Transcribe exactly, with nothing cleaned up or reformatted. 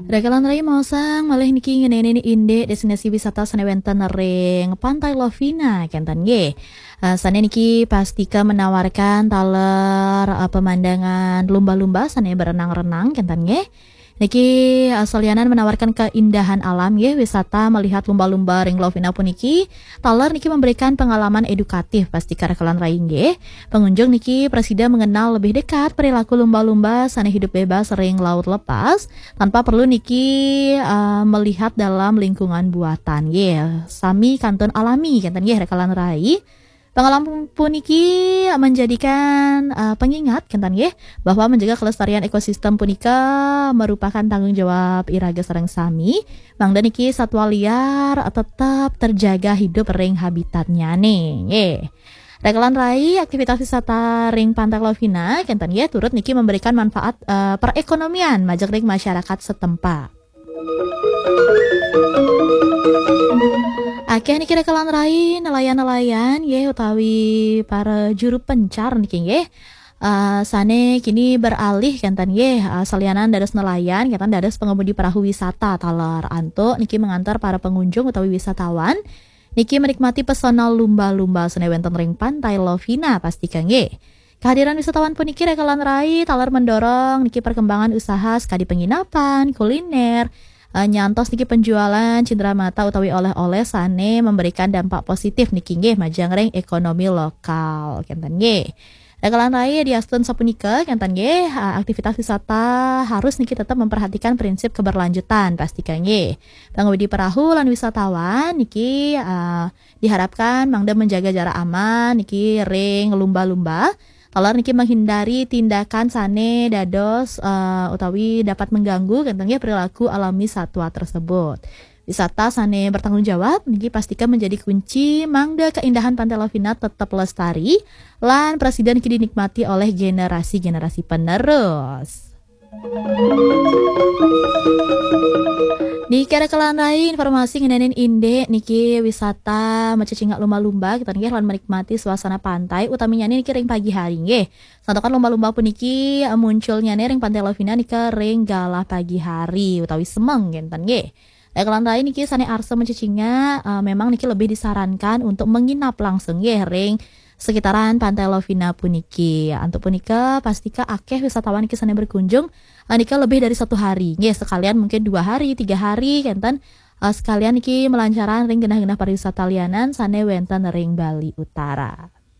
Rekelan rai maosang malih niki ngeninin indik destinasi wisata sane wenten ring Pantai Lovina kenten nggih. Eh, sane niki pastika menawarkan taler, eh, pemandangan lumba-lumba sane berenang-renang kenten nggih. Niki, eh, salianan menawarkan keindahan alam nggih, wisata melihat lumba-lumba ring Lovina puniki. Taler niki memberikan pengalaman edukatif pastika rekelan rai nggih. Pengunjung niki prasida mengenal lebih dekat perilaku lumba-lumba sane hidup bebas ring laut lepas tanpa perlu niki, eh, melihat dalam lingkungan buatan nggih. Sami kantun alami kenten nggih rekelan rai. Pengalaman puniki menjadikan, eh, pengingat kenten nggih bahwa menjaga kelestarian ekosistem punika merupakan tanggung jawab iraga sareng sami. Mangda niki satwa liar tetap terjaga hidup ring habitatnyane nggih. Rekelan rai, aktivitas wisata ring Pantai Lovina kenten nggih turut niki memberikan manfaat, eh, perekonomian majeng ring masyarakat setempat. Akeh niki rekelan rai nelayan-nelayan nggih utawi para juru pencar niki nggih. Eh, sane kini beralih kenten nggih, eh, salianan dados nelayan kenten dados pengemudi perahu wisata taler antuk niki mengantar para pengunjung utawi wisatawan niki menikmati pesona lumba-lumba sane wenten ring Pantai Lovina pastika nggih. Kehadiran wisatawan puniki rekelan rai taler mendorong niki perkembangan usaha sekadi penginapan, kuliner, eh, nyantos niki penjualan cindera mata utawi oleh-oleh sane memberikan dampak positif niki nggih majeng ring ekonomi lokal kenten nggih. Rekelan rai diastun sapunika kenten nggih, eh, aktivitas wisata harus niki tetap memperhatikan prinsip keberlanjutan pastika nggih. Pangudi perahu lan wisatawan niki, eh, diharapkan mangda menjaga jarak aman niki ring lumba-lumba. Taler niki menghindari tindakan sane dados, eh, utawi dapat mengganggu kenten nggih perilaku alami satwa tersebut. Wisata sane bertanggung jawab niki pastika menjadi kunci mangda keindahan Pantai Lovina tetap lestari lan prasida niki dinikmati oleh generasi-generasi penerus. Niki rekelan rai informasi ngeninin indik niki wisata macecingak lumba-lumba kenten nggih lan menikmati suasana pantai utaminya niki ring pagi hari nggih. Santukan lumba-lumba puniki, eh, munculnyane ring Pantai Lovina nika ring galah pagi hari utawi semeng kenten nggih. Rekelan rai niki sane arsa macecingak, eh, memang niki lebih disarankan untuk menginap langsung nggih ring sekitaran Pantai Lovina puniki. Antuk punika pastika akeh wisatawan niki sane berkunjung, eh, nika lebih dari satu hari nggih, sekalian mungkin dua hari, tiga hari kenten, eh, sekalian niki melancaran ring genah-genah pariwisata lianan sane wenten ring Bali Utara.